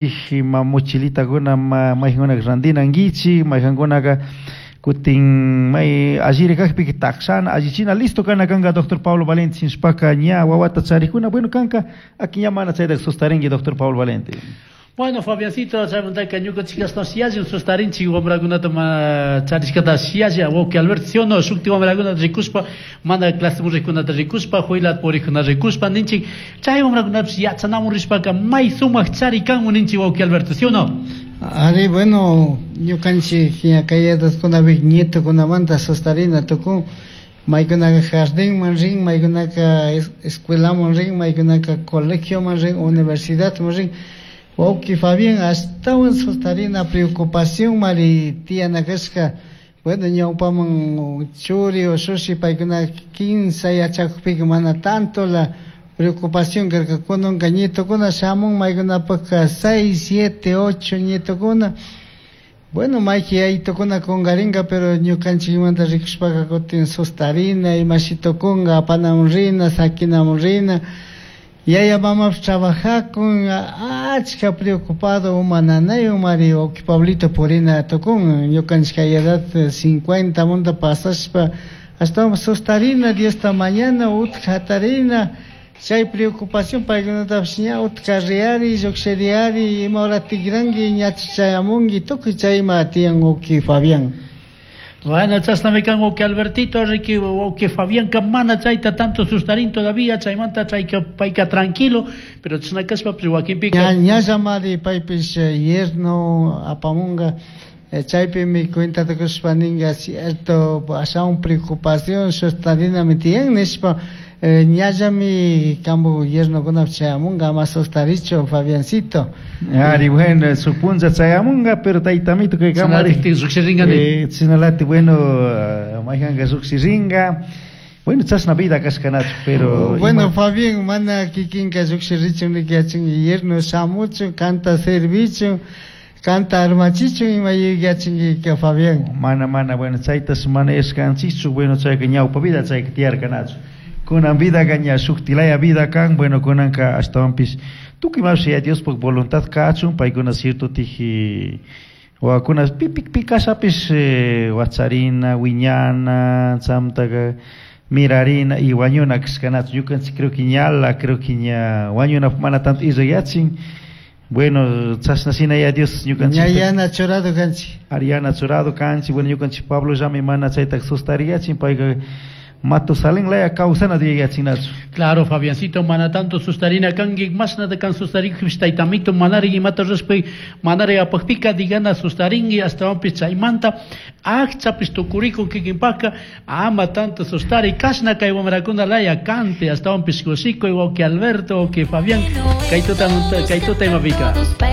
Ima mochilitakuna maykankunaka rantinankichik, maykankunaka kutin may alliri kakpika takshana, allichina listo kana kanka doctor Pablo Valente nishpaka ña wawata charikuna, bueno kanka aki ña mana chayta sustarinki, doctor Pablo Valente. Bueno, Fabiancito, chaymantaka ñukanchik ashtawanshi yalli sustarinchik wamrakunata ma charishkata yalli, wawki Alberto, ¿sí o no? Shukti wamrakunata rikushpa, mana clase rikunata rikushpa, juilat purikuna rikushpa ninchik, chay wamrakunapish yachanamun rishpaka may sumak chari kanmun ninchik, wawki Alberto, ¿sí o no? Ari, bueno, ñukanchik ña kay edadkunapi nietokunamanta sustarina tukun, maykunaka jardinman rin, maykunaka escuelaman rin, maykunaka colegioman rin, universidadman rin. Wawki Fabián, ashtawan sustarina preocupación mari tiyana kashka. Bueno, ñawpaman churi ushushi paykuna 15 yachakukpika mana tanto la preocupación karka. Kunanka nietokuna shamun maykunapaka 6, 7, 8 nietokuna. Bueno, mayki yayitokuna kunkarinka, pero ñukanchikmanta rikushpaka kutin sustarina, imashi tukunka, apanamun rina, sakinamun rina. Yaya mamapish trabajakun, achka preocupado uma nanaywan mari wawki Pablito purina tukun. Ñukanchik kay edad 50 manta pasashpa ashtawan sustarina, Diosta mañana, utka hatarina, chay preocupación paykunatapish ña utka riyari, llukshiriyari, ima hora tikranki, ñachu chayamunki, tukuy chayma tiyan, wawki Fabián. Bueno, chashnami kan, wawki Albertito, riki wawki Fabianka mana chayta tanto sustarin todavía, chaymanta chayka payka tranquilo, pero chashna kashpapish wakinpika Ña, ñallamari paypish yerno apamunga, chaypimi cuentata kushpa ninga, cierto, ashawan preocupación sustarinami tiyan nishpa, ñallami kambu yernokunapish chayamunga, ama sustarichu, Fabiancito. Ari, bueno, su punlla chayamunga, pero taytamito kay kamari. Chashnalatik llukshiringa ni. Chashnalatik, bueno, maykanka llukshiringa. Bueno, chashna vida kashkanachu, pero Bueno, ima Fabián, mana kikinka llukshirichun niki yachanki, yerno shamuchun, kanta servichun, kanta armachichun, ima yuyachinki, Fabián. Mana, mana, bueno, chaytas mana yashkanchikchu, bueno, chayka ñawpa vida chayka tiyarkanachu. Kunan vida ña shuktilaya vida kan, bueno, kunanka ashtawanpish tukuy imapish ya Diospuk voluntad kachun, paykuna cierto tiji wawakuna pi pi pi kashapish, wacharina, wiñana, chamtaka mirarina y wañuna kashkanachu. Ñukanchik creo que ñala, creo que ña wañuna mana tanto irrayachin. Bueno, chashna shina ya Dios ñukanchik Ña yana churado kanchik. Ariana churado kanchik, bueno, ñukanchik Pablo llami mana chayta sustariyachin, payka Matusalén laya kawsana yachinachu. Claro, Fabiancito, mana tanto sustarina kanki, mashnata kan sustarinki, taytamito, manari imata rurashpa, manari apakpika, digana sustarinki, ashtawanpish chaymanta, akchapish tukurikun kikinpaka, ama tanto sustari, kashna kay wamrakuna laya kante, ashtawanpish kushikuy, wawki Alberto, wawki Fabián, kay tuta, kay tuta imapika.